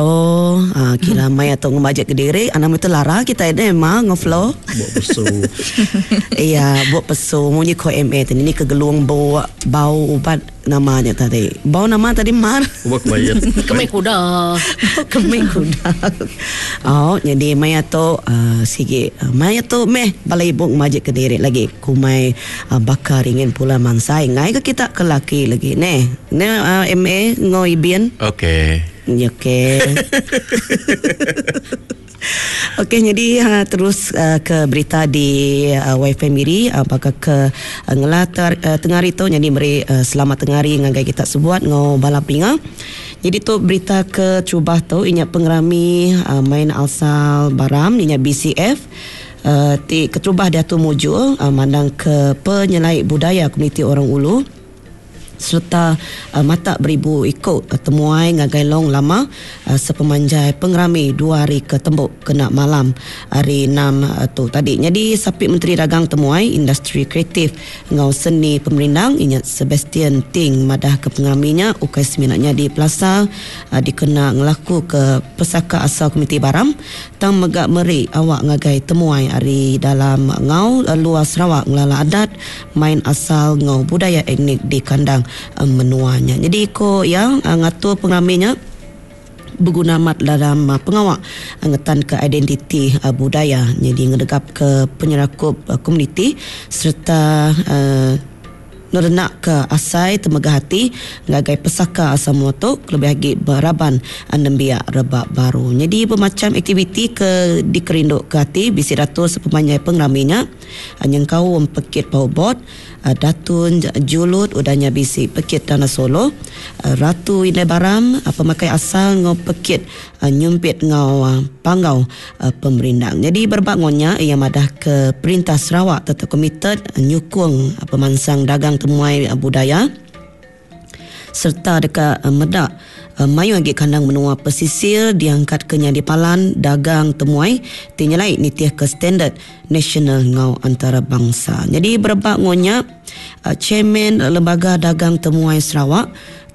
Oh, ah, kira maya tu ngemajik kediri, anang meh tu lara kitai deh ma enggau Flo. Buk pesu. Iya, buk pesu munyi ko MA tadi ni ke gelung buk bau ubat nama nya tadi. Bau nama tadi mar? Ubat kemayit. Kemik kuda. Kemik kuda. Oh, jadi maya tu uh, sigi uh, maya tu meh bala ibu ngemajik kediri lagi kumai uh, baka ringin pula mansai ngai ke kita ke laki lagi neh. Ne uh, MA enggau Ibin. Okey. Okey. Okey nyadi uh, terus uh, ke berita di uh, WiFi Miri uh, baka ke uh, ngelatar uh, tengah hari tu nyadi meri uh, selamat tengah hari ngagai kita sebuat ngau bala peninga. Jadi tu berita ke terubah tu inya pengerami uh, main asal Baram inya BCF uh, ti keterubah diatu mujur uh, mandang ke penyelai budaya komuniti orang ulu. sereta matak beribu iku temuai ngagai Long Lama sepemanjai pengerami dua hari ke tembu kena malam Hari Enam tu tadi. Nyadi Sapit Menteri Dagang Temuai, Industri Kreatif enggau Seni Pemerindang inya Sebastian Ting madahka pengerami nya ukai semina nyadi pelasar dikena ngelakuka pesaka asal komuniti Baram tang mega meri awak ngagai temuai ari dalam enggau luar Sarawak ngelala adat, main asal enggau budaya etnik di kandang menua nya. Nyadi ko iya ngatur pengerami nya beguna amat dalam pengawa ngetanka identiti budaya nyadi ngenegapka penyerakup komuniti sereta Nerenakka asai temegah ati ngagai pesaka asal menua tu kelebih agi ba raban nembiak rebak baru. Nyadi bemacham aktiviti ke dikerinduka ati bisi diatur sepemanjai pengerami nya nyengkaum pekit powerboat, Datun Julut udah nya bisi pekit Tanah Solo, Ratu Indai Baram, pemakai asal enggau pekit nyumpit enggau panggau pemerindang. Nyadi berebak enggau nya, iya madahka Perintah Sarawak tetap komited nyukung pemansang dagang temuai budaya sereta deka meda mayuh agi kandang menua pesisir diangkatka nyadi palan dagang temuai ti nyelai nitihka standard nasional enggau antarabangsa. Nyadi berebak enggau nya, Chairman Lembaga Dagang Temuai Sarawak,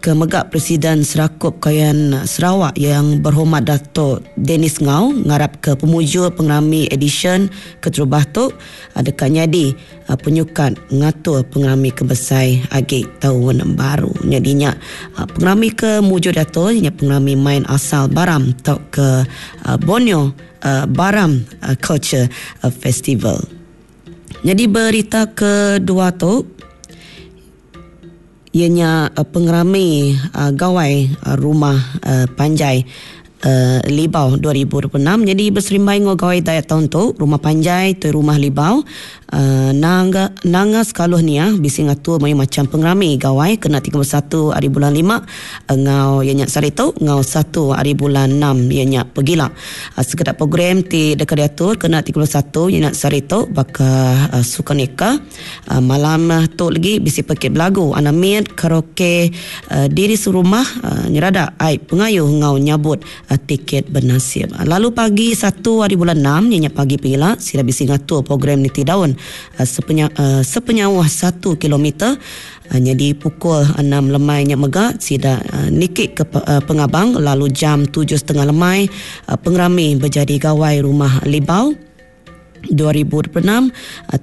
ke mega Presiden Serakup Kayan Sarawak Yang Berhormat Dato Dennis Ngau ngarapka pemujur pengerami edisyen keterubah tu deka nyadi penyukat ngatur pengerami ke besai agi taun baru. Nyadi nya pengerami ke mujur diatur nya pengerami main asal Baram tauka Borneo Baram Culture Festival. Nyadi berita kedua tu Iya nya pengerami Gawai Rumah Panjai Libau 2026 nyadi beserimbai enggau Gawai Dayak taun tu, Rumah Panjai Tuai Rumah Libau Nanga Nanga Sekaluh Niah bisi ngatur mayuh macham pengerami Gawai kena 31 ari bulan lima enggau iya nya sehari tu enggau satu ari bulan enam iya nya pegila. Sekeda program ti deka diatur kena 31 iya nya sehari tu baka Sukaneka, Malam tu legi bisi pekit belagu anak mit, karaoke, diri serumah, nyeradak ai pengayu enggau nyabut tiket benasib. Lalu pagi satu hari bulan enam iya nya pagi pengila sida bisi ngatur program niti daun sepenyauh satu kilometer nyadi pukul enam lemai nya mega sida niki ke pengabang lalu jam tujuh setengah lemai pengerami bejadi gawai Rumah Libau. 2026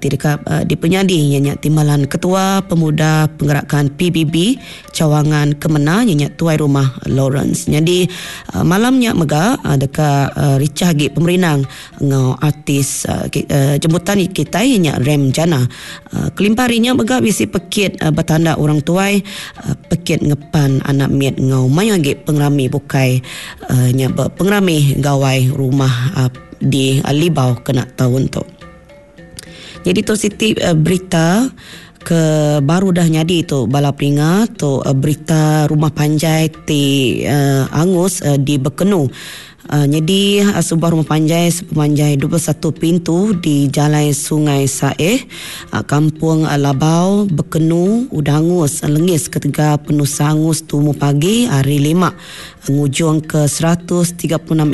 ti deka dipenyadi iya nya Timbalan Ketua Pemuda Penggerakan PBB Cawangan Kemena iya nya Tuai Rumah Lawrence. Nyadi malam nya mega deka richah agi pemerindang enggau artis jemputan kitai iya nya Rem Jana. Kelimpah ari nya mega bisi pekit betanda orang tuai, pekit ngepan anak mit enggau mayuh agi pengerami bukai nya ba pengerami Gawai Rumah di Libau kena taun tu. Jadi tu siti berita ke baru dah nyadi tu bala peninga tu berita rumah panjai ti angus di Bekenu. Nyadi sebuah rumah panjai sepemanjai 21 pintu di Jalai Sungai Saeh, Kampung Labau, Bekenu udah angus lengis ketegal penusah angus tumu pagi hari Lima. Ngujungka 136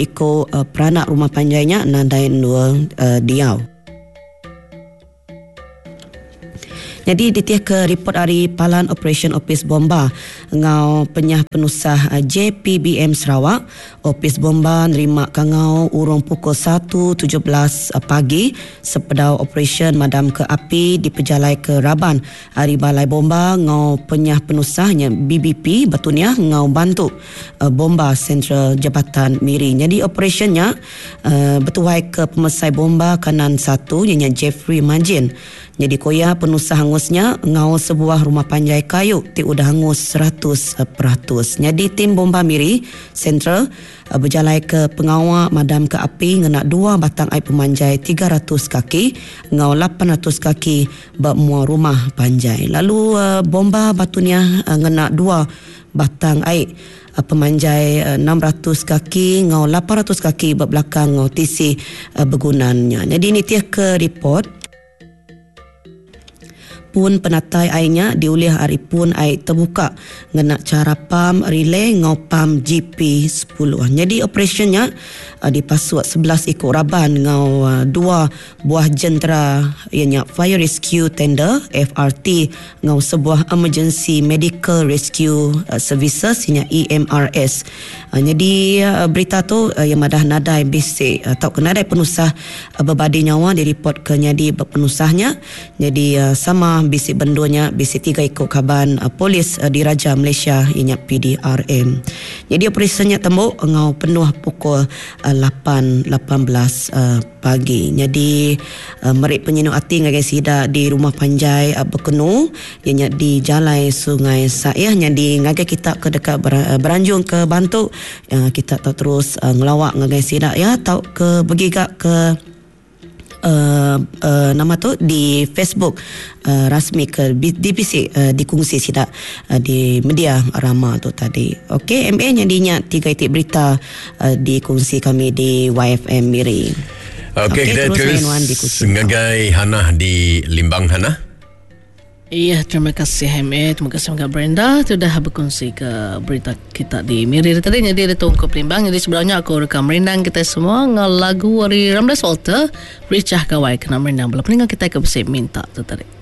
iku peranak rumah panjai nya nadai endur diau. Nyadi ditih ke ripot ari Palan Operasyen Opis Bomba enggau Penyah Penusah JPBM Sarawak, Opis Bomba nerima kangau urung pukul satu 17 pagi sepedau operasyen madamka api dipejalaika raban ari Balai Bomba enggau Penyah Penusah nya BBP Batu Niah enggau bantu Bomba Sentral Jabatan Miri. Nyadi operasyen nya betuaika Pemesai Bomba Kanan satu iya nya Jeffrey Majin. Nyadi ku iya, penusah angus nya ngaul sebuah rumah panjai kayu ti udah angus 100%. Nyadi tim Bomba Miri Sentral bejalaika pengawa madamka api ngena dua batang ai pemanjai 300 kaki enggau 800 kaki ba mua rumah panjai. Lalu Bomba Batu Niah ngena dua batang ai pemanjai 600 kaki enggau 800 kaki ba belakang enggau tisi begunan nya. Nyadi nitihka ripot, Pun penatai ai nya diulih ari pun ai tebuka ngena chara pam relay enggau pam GP 10. Nyadi operasyen nya dipasuk 11 iku raban enggau dua buah jentera iya nya Fire Rescue Tender, FRT, enggau sebuah Emergency Medical Rescue Services iya nya EMRS. Nyadi berita tu iya madah nadai bisi tauka nadai penusah bebadi nyawa diripotka nyadi ba penusah nya. Nyadi sama bisi bendur nya bisi tiga iku kaban polis diraja Malaysia iya nya PDRM. Nyadi operasyen nya tembu enggau penuh pukul 8:18 pagi. Nyadi meri penyinu ati ngagai sida di rumah panjai Bekenu. Iya nya di Jalai Sungai Saih nyadi ngagai kita ke deka beranjung ke bantu kita tau terus ngelawa ngagai sida iya tauka begiga ke uhh nama tu di Facebook rasmi ke dibisi dikungsi sida di media rama tu tadi. Ok MA nyadi nya tiga iti berita dikungsi kami di YFM Miri. Ok kita terus ngagai Hanah di Limbang Hanah. Iya, terima kasih MA, terima kasih mega Brenda ti udah bekunsi ke berita kita di Miri tadi nyadi ada tungkup Limbang jadi sebelum nya aku rekam merindang kita semua enggau lagu ari Ramdas Walter Richah Gawai kena merindang bala peninga kita ke bisi minta tu tadi.